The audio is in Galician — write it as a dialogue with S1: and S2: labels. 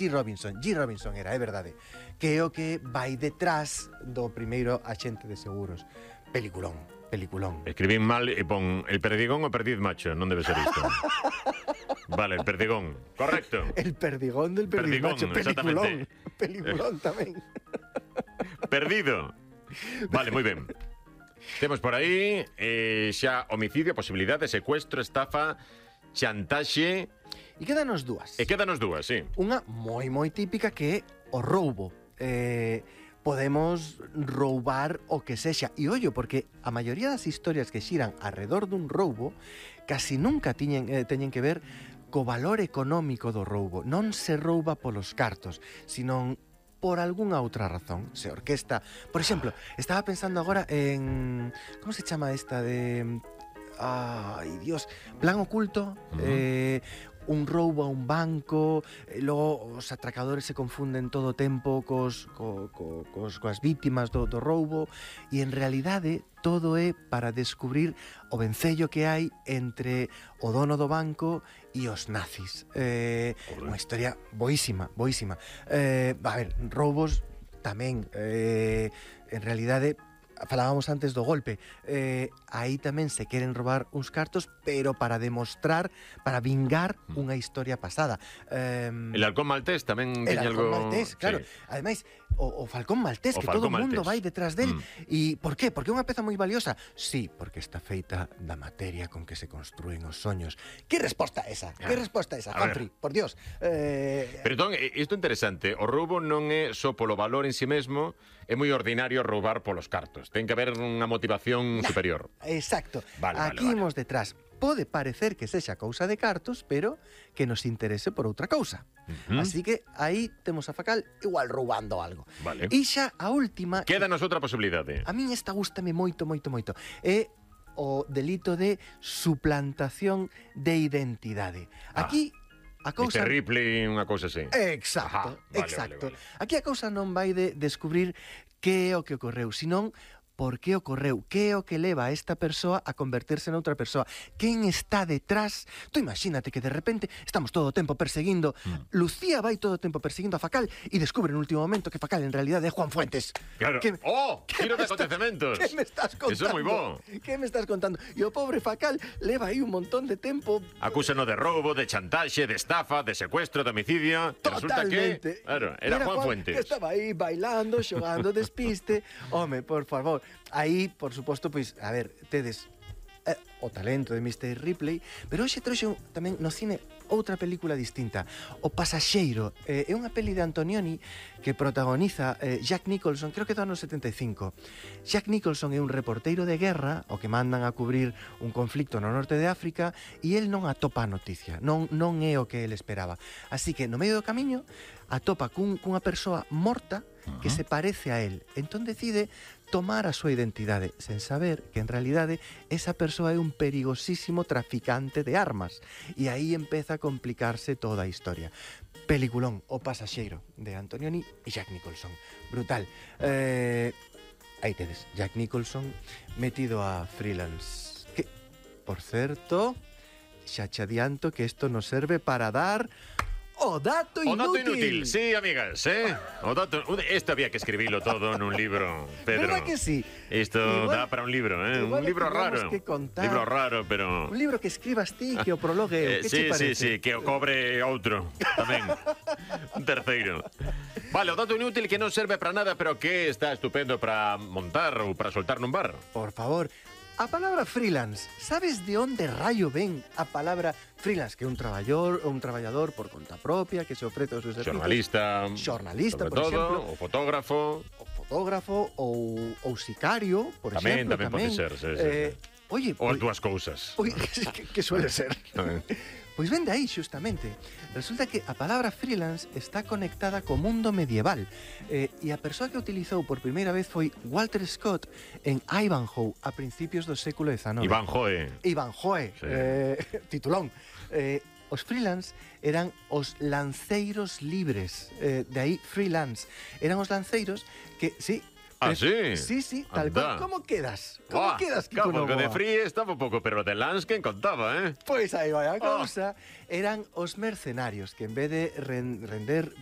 S1: G. Robinson era, é verdade, que é o que vai detrás do primeiro axente de seguros. Peliculón.
S2: Escribín mal e pon el perdigón o perdiz macho, non debe ser isto. Vale, el perdigón, correcto.
S1: El perdigón del perdiz macho, peliculón tamén.
S2: Perdido. Vale, moi ben. Temos por aí xa homicidio, posibilidade, secuestro, estafa, chantaxe.
S1: E quédanos dúas.
S2: Sí.
S1: Unha moi típica que é o roubo. Podemos roubar o que sexa. E ollo, porque a maioría das historias que xiran alrededor dun roubo casi nunca teñen que ver co valor económico do roubo. Non se rouba polos cartos, sino por algunha outra razón. Se orquesta... Por exemplo, estaba pensando agora en... Como se chama esta de... Ai, Dios... Plan oculto... un roubo a un banco, logo os atracadores se confunden todo o tempo coas vítimas do roubo, e en realidade todo é para descubrir o vencello que hai entre o dono do banco e os nazis. Unha historia boísima. A ver, roubos tamén, en realidade, falábamos antes do golpe, aí tamén se queren robar uns cartos, pero para demostrar, para vingar unha historia pasada.
S2: El halcón maltés tamén teña algo...
S1: El halcón maltés, claro. Sí. Ademais, o falcón maltés, que todo o mundo vai detrás del. E por qué? Porque é unha peza moi valiosa? Sí, porque está feita da materia con que se construen os soños. Que resposta esa? Humphrey, por Dios.
S2: Pero entón, isto é interesante. O roubo non é só polo valor en si mesmo, é moi ordinario roubar polos cartos. Ten que haber unha motivación superior.
S1: Exacto. Aquí imos detrás. Pode parecer que sexa cousa de cartos, pero que nos interese por outra cousa. Así que aí temos a Facal igual roubando algo.
S2: Vale.
S1: E xa a última...
S2: Quédanos outra posibilidade.
S1: A min esta gústame moito. É o delito de suplantación de identidade. Aquí... A cousa...
S2: Mr. Ripley, unha cousa así.
S1: Exacto. Vale. Aquí a cousa non vai de descubrir que é o que ocorreu, senón por que ocorreu, que é o que leva a esta persoa a convertirse noutra persoa, quen está detrás. Tú imagínate que de repente estamos todo o tempo perseguindo, Lucía vai todo o tempo perseguindo a Facal e descubre no último momento que Facal en realidad é Juan Fuentes.
S2: Claro. Giro de acontecementos.
S1: Que me estás contando?
S2: Eso é moi bo.
S1: Que me estás contando? E o pobre Facal leva aí un montón de tempo.
S2: Acúsano de roubo, de chantaxe, de estafa, de secuestro, de homicidio.
S1: Totalmente.
S2: Resulta que, claro, era Juan Fuentes.
S1: Que estaba aí bailando, xogando despiste. Home, por favor. Aí, por suposto, pois, a ver, tedes o talento de Mr. Ripley, pero hoxe trouxe tamén no cine outra película distinta, O Pasaxeiro. É unha peli de Antonioni que protagoniza Jack Nicholson, creo que do ano 75. Jack Nicholson é un reporteiro de guerra, o que mandan a cubrir un conflicto no norte de África, e el non atopa a noticia, non é o que el esperaba. Así que, no medio do camiño, atopa cunha persoa morta que se parece a él. Entón decide tomar a súa identidade, sen saber que en realidade esa persoa é un perigosísimo traficante de armas. E aí empeza a complicarse toda a historia. Peliculón, O Pasaxeiro, de Antonioni e Jack Nicholson. Brutal. Aí tedes, Jack Nicholson metido a freelance. Que, por certo, xa che adianto que isto nos serve para dar... O dato inútil.
S2: O dato inútil, sí, amigas, O dato... Esto había que escribirlo todo nun libro, Pedro.
S1: ¿Verdad que sí?
S2: Isto dá para un libro, Un libro raro. Libro raro, pero...
S1: Un libro que escribas ti, que o prologue.
S2: Sí, que o cobre outro tamén. Un terceiro. Vale, o dato inútil que non serve para nada, pero que está estupendo para montar ou para soltar nun bar.
S1: Por favor. A palabra freelance, sabes de onde raio ven a palabra freelance? Que é un traballador por conta propia, que se ofrece os seus servicios. Xornalista, por exemplo.
S2: O fotógrafo.
S1: Ou sicario, por exemplo.
S2: Tamén pode ser,
S1: Oye,
S2: ou as dúas cousas.
S1: Que suele ser. Pois ven de aí, xustamente. Resulta que a palabra freelance está conectada co mundo medieval, e a persoa que utilizou por primeira vez foi Walter Scott en Ivanhoe a principios do século XIX. Ivanhoe, sí. Titulón. Os freelance eran os lanceiros libres, de aí freelance. Eran os lanceiros que, sí...
S2: Ah, sí?
S1: Sí, tal cual. ¿Cómo quedas? ¿Cómo quedas, Kiko
S2: Novoa?
S1: Novoa?
S2: De free estaba un pouco, pero de Lance quen contaba,
S1: Pois aí vai a cousa. Eran os mercenarios que en vez de render